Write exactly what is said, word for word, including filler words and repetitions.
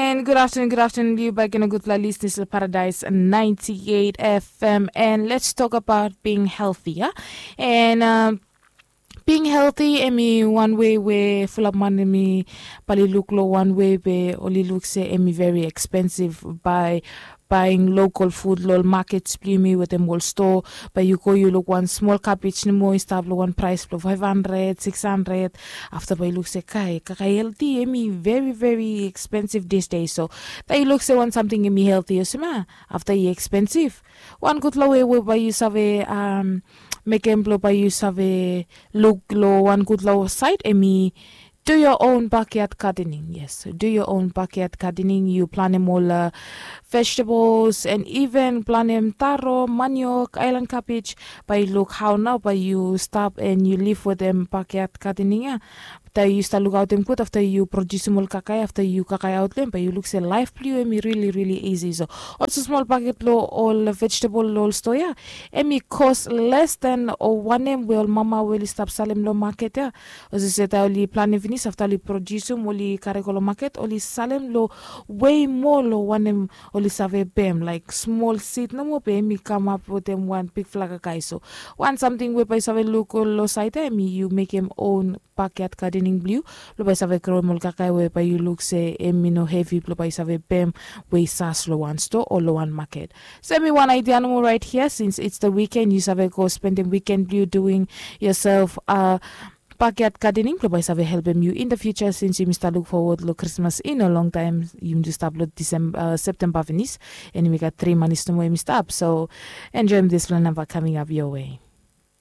And good afternoon, good afternoon, you back in a good la listeners to Paradise ninety-eight F M. And let's talk about being healthy, yeah? And um, being healthy, emi one way we fulap man emi bali look lo one way be oli look se emi very expensive by buying local food lo markets blimi with them all store. By you go, you look one small cabbage ni more, start lo one price lo five hundred, six hundred. After by you look se kai, kakai healthy, emi very, very expensive this day. So that you look se one something emi healthy, you see ma, after you expensive. One good lo way we by you save um, make em blo by you save look lo one good lo side, emi do your own backyard gardening. Yes, do your own backyard gardening. You plant them all uh, vegetables and even plant them taro, manioc, island cabbage. By you look how now, by you stop and you live with them backyard gardening. Yeah. After you start look out them good, after you produce them all kakai, after you kakai out them, by you look se life blue emi really, really easy. So also small packet lo all vegetable lo all store, yeah. Emi cost less than o wanem we ol mama we oli stap salem lo market ya. Olsem se taem oli planem finis, afta oli produsum, oli karem go lo market, oli salem lo way more lo wanem oli save pem, like small seed nomo be emi kamap wetem wan bigfala kakae. So wan samting we bae yu save luk lo saed ya, emi yu mekem own backyard gardening blong yu, blong bae yu save groem ol kakae we bae yu luk se emi no hevi blong bae yu save pem we i sas lo wan stoa o lo wan maket. So emi wan idea nomo right here, since it's the weekend, yu save go spendem weekend blong yu doing yourself a backyard gardening blong bae yu save helpem yu in the future, since yumi stap luk forward lo Krismas i no longtaem, yumi tu stap lo Septemba finis, and yumi gat tri manis nomo yumi stap. So enjoem dispela namba coming up your way.